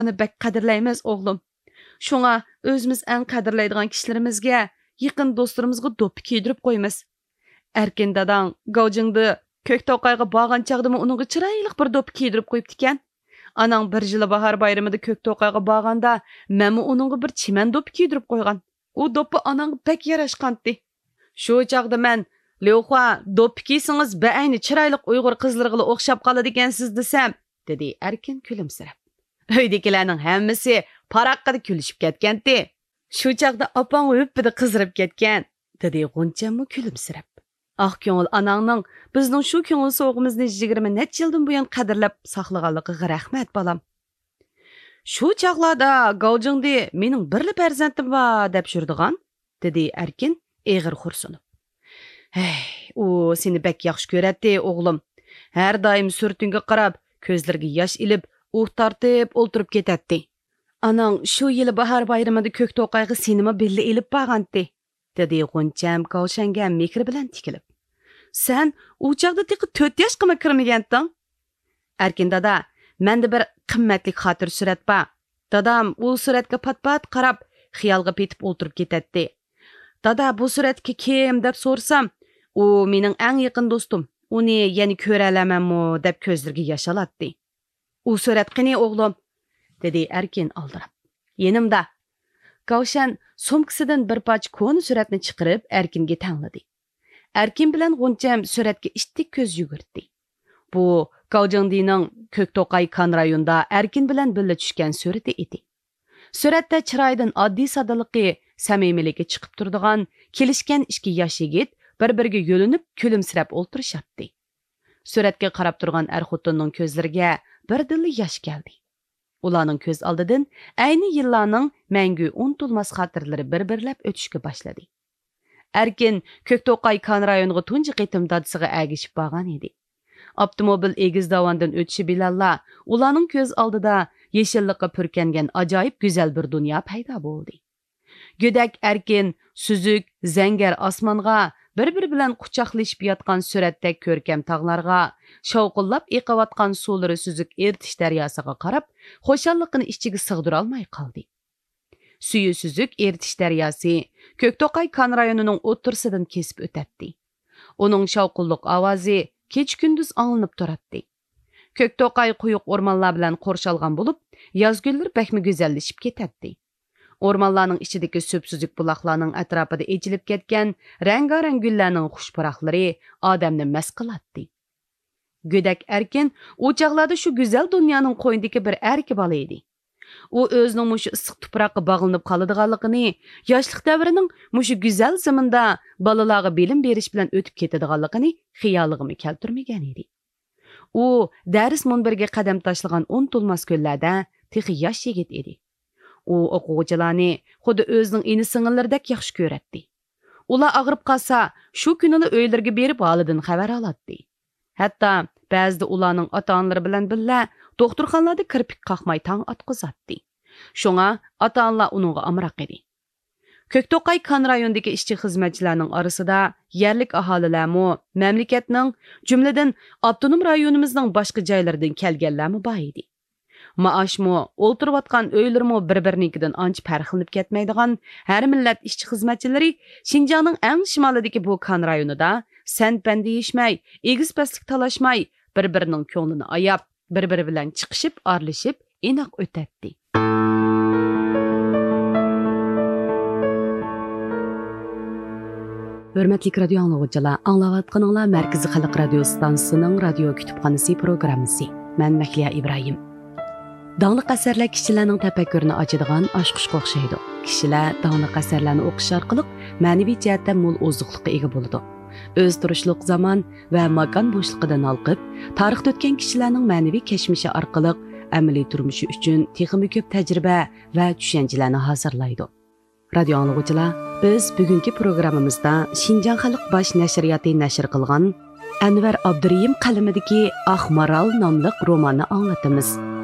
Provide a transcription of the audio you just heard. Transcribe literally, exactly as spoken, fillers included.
ئۇنى بەك قەدىرلەيمىز، ئوغلۇم. شۇڭا ئۆزىمىز ئەڭ قەدىرلەيدىغان كىشىلىرىمىزگە، يېقىن دوستلىرىمىزغا دوپپا كىيدۈرۈپ قويىمىز. ئەركىن داداڭ گاۋجىڭدې كۆك توقايغا بارغان چاغدىمۇ ئۇنىڭغا چىرايلىق بىر دوپپا كىيدۈرۈپ قويۇپتىكەن. ئاناڭ بىر يىلى باھار بايرىمىدا كۆك توقايغا بارغاندا، مەنمۇ ئۇنىڭغا بىر چىمەن دوپپا كىيدۈرۈپ قويغان. ئۇ دوپپا ئاناڭغا بەك ياراشقانتى. شۇ چاغدا مەن، «ليۇخۇا، دوپپا كىيسىڭىز، بەئەينى چىرايلىق ئۇيغۇر قىزلىرىغىلا ئوخشاپ قالىدىكەنسىز» دېسەم، دېدى ئەركىن كۈلۈمسىرەپ. ئۆيدىكىلەرنىڭ ھەممىسى پاراققىدە كۈلۈشۈپ كەتكەنتى. شۇ چاغدا ئاپاڭ ھۈپپىدە قىزىرىپ كەتكەن، دېدى غۇنچەممۇ كۈلۈمسىرەپ. ئاق كۆڭۈل ئاناڭنىڭ بىزنىڭ شۇ كۆڭۈل سوۋغىمىزنى يىگىرمە نەچچە يىلدىن بۇيان قەدىرلەپ ساقلىغانلىقىغا رەھمەت، بالام. شۇ چاغلاردا گاۋجىڭدې مېنىڭ بىرلا پەرزەنتىم بار دەپ يۈرىدىغان، دېدى ئەركىن ئېغىر خورسۇنۇپ. ھەي، ئۇ سېنى بەك ياخشى كۆرەتتى، ئوغلۇم. ھەر دائىم سۈرىتىڭگە قاراپ، كۆزلىرىگە ياش ئېلىپ، ئۇھ تارتىپ ئولتۇرۇپ كېتەتتى. ئاناڭ شۇ يىلى باھار بايرىمىدا كۆك توقايغا سېنىمۇ بىللە ئېلىپ بارغانتى، دېدى غۇنچەم كاۋشەنگە مېھرى بىلەن تىكىلىپ. سەن ئۇ چاغدا تېخى تۆت ياشقىمۇ كىرمىگەنتىڭ. ئەركىن دادا، مەندە بىر قىممەتلىك خاتىرە سۈرەت بار. دادام ئۇ سۈرەتكە پات-پات قاراپ، خىيالغا پېتىپ ئولتۇرۇپ كېتەتتى. «دادا، بۇ سۈرەتتىكى كىم؟» دەپ سورىسام، «ئۇ مېنىڭ ئەڭ يېقىن دوستۇم، ئۇنى يەنە كۆرەلەرمەنمۇ؟» دەپ كۆزلىرىگە ياش ئالاتتى. «ئۇ سۈرەت قېنى، ئوغلۇم؟» دېدى ئەركىن ئالدىراپ. «يېنىمدا.» كاۋشەن سومكىسىدىن بىر پارچە كونا سۈرەتنى چىقىرىپ، ئەركىنگە تەڭلىدى. ئەركىن بىلەن غۇنچەم سۈرەتكە ئىتتىك كۆز يۈگۈرتتى. بۇ گاۋجىڭدىنىڭ كۆك توقاي كان رايونىدا ئەركىن بىلەن بىللە چۈشكەن سۈرىتى ئىدى. سۈرەتتە چىرايىدىن ئاددىي-ساددىلىقى، سەمىمىيلىكى چىقىپ تۇرىدىغان كېلىشكەن ئىككى ياش يىگىت بىر-بىرىگە يۆلىنىپ كۈلۈمسىرەپ ئولتۇرۇشاتتى. سۈرەتكە قاراپ تۇرغان ئەر-خوتۇننىڭ كۆزلىرىگە بىردىنلا ياش كەلدى. ئۇلارنىڭ كۆز ئالدىدىن ئەينى يىللارنىڭ مەڭگۈ ئۇنتۇلماس خاتىرىلىرى بىر-بىرلەپ ئۆتۈشكە باشلىدى. ئەركىن كۆكتوقاي كان رايونىغا تۇنجى قېتىم دادىسىغا ئەگىشىپ بارغان ئىدى. ئاپتوموبىل ئېگىز داۋاندىن ئۆتۈشى بىلەنلا ئۇلارنىڭ كۆز ئالدىدا يېشىللىققا پۈركەنگەن ئاجايىپ گۈزەل بىر دۇنيا پەيدا بولدى. گۆدەك ئەركىن، سۈزۈك، زەڭگەر ئاسمانغا، بىر-بىرى بىلەن قۇچاقلىشىپ ياتقان سۈرەتتەك كۆركەم تاغلارغا، شاۋقۇنلاپ ئېقىۋاتقان سۇلىرى سۈزۈك ئېرتىش دەرياسىغا قاراپ، خۇشاللىقىنى ئىچىگە سىغدۇرالماي قالدى. سۈيى سۈزۈك ئېرتىش دەرياسى كۆكتوقاي كان رايونىنىڭ ئوتتۇرىسىدىن كېسىپ ئۆتەتتى. ئۇنىڭ شاۋقۇنلۇق ئاۋازى كېچە-كۈندۈز ئاڭلىنىپ تۇراتتى. كۆكتوقاي قويۇق ئورمانلار بىلەن قورشالغان بولۇپ، ياز كۈنلىرى بەكمۇ گۈزەللىشىپ كېتەتتى. ئورمانلارنىڭ ئىچىدىكى سۈپسۈزۈك بۇلاقلارنىڭ ئەتراپىدا ئېچىلىپ كەتكەن رەڭگارەڭ گۈللەرنىڭ خۇش پۇراقلىرى ئادەمنى مەست قىلاتتى. گۆدەك ئەركىن ئۇ چاغلاردا شۇ گۈزەل دۇنيانىڭ قوينىدىكى بىر ئەركە بالا ئىدى. ئۇ ئۆزىنىڭ مۇشۇ ئىسسىق تۇپراققا باغلىنىپ قالىدىغانلىقىنى، ياشلىق دەۋرىنىڭ مۇشۇ گۈزەل زېمىندا بالىلارغا بىلىم بېرىش بىلەن ئۆتۈپ كېتىدىغانلىقىنى خىيالىغىمۇ كەلتۈرمىگەن ئىدى. ئۇ دەرس مۇنبىرىگە قەدەم تاشلىغان ئۇنتۇلماس كۈنلەردە تېخى ياش يىگىت ئىدى. ئۇ ئوقۇغۇچىلارنى خۇددى ئۆزىنىڭ ئىنى-سىڭىللىرىدەك ياخشى كۆرەتتى. ئۇلار ئاغرىپ قالسا، شۇ كۈنىلا ئۆيلىرىگە بېرىپ ھالىدىن خەۋەر ئالاتتى. ھەتتا بەزىدە ئۇلارنىڭ ئاتا-ئانىلىرى بىلەن بىللە دوختۇرخانىلاردا كىرپىك قاقماي تاڭ ئاتقۇزاتتى. شۇڭا ئاتا-ئانىلار ئۇنىڭغا ئامراق ئىدى. كۆكتوقاي كان رايونىدىكى ئىشچى-خىزمەتچىلەرنىڭ ئارىسىدا يەرلىك ئاھالىلەرمۇ، مەملىكەتنىڭ، جۈملىدىن ئاپتونوم رايونىمىزنىڭ باشقا جايلىرىدىن كەلگەنلەرمۇ بار ئىدى. مائاشمۇ، ئولتۇرۇۋاتقان ئۆيلىرىمۇ بىر-بىرىنىڭكىدىن ئانچە پەرقلىنىپ كەتمەيدىغان ھەر مىللەت ئىشچى-خىزمەتچىلىرى شىنجاڭنىڭ ئەڭ شىمالىدىكى بۇ كان رايونىدا سەن-پەن دېيىشمەي، ئېگىز-پەسلىك تالاشماي، بىر-بىرىنىڭ كۆڭلىنى ئاياپ، بىر-بىرى بىلەن چىقىشىپ، ئارىلىشىپ، ئىناق ئۆتەتتى. ھۆرمەتلىك رادىيو ئاڭلىغۇچىلار، ئاڭلاۋاتقىنىڭلار مەركىزىي خەلق رادىيو ستانسىسىنىڭ رادىيو كۇتۇپخانىسى پروگراممىسى. مەن مەھلىيا ئىبراھىم. داڭلىق ئەسەرلەر كىشىلەرنىڭ تەپەككۇرىنى ئاچىدىغان ئاچقۇچقا ئوخشايدۇ. كىشىلەر داڭلىق ئەسەرلەرنى ئوقۇش ئارقىلىق مەنىۋى جەھەتتە مول ئوزۇقلۇققا ئىگە بولىدۇ. ئۆزى تۇرۇشلۇق زامان ۋە ماكان بوشلۇقىدىن ھالقىپ، تارىختا ئۆتكەن كىشىلەرنىڭ مەنىۋى كەچمىشى ئارقىلىق ئەمەلىي تۇرمۇشى ئۈچۈن تېخىمۇ كۆپ تەجرىبە ۋە چۈشەنچىلەرنى ھازىرلايدۇ. رادىيو ئاڭلىغۇچىلار، بىز بۈگۈنكى پروگراممىمىزدا شىنجاڭ خەلق باش نەشرىياتى نەشر قىلغان ئەنۋەر ئابدۇرېھىم قەلىمىدىكى ئاق مارال ناملىق روماننى ئاڭلىتىمىز.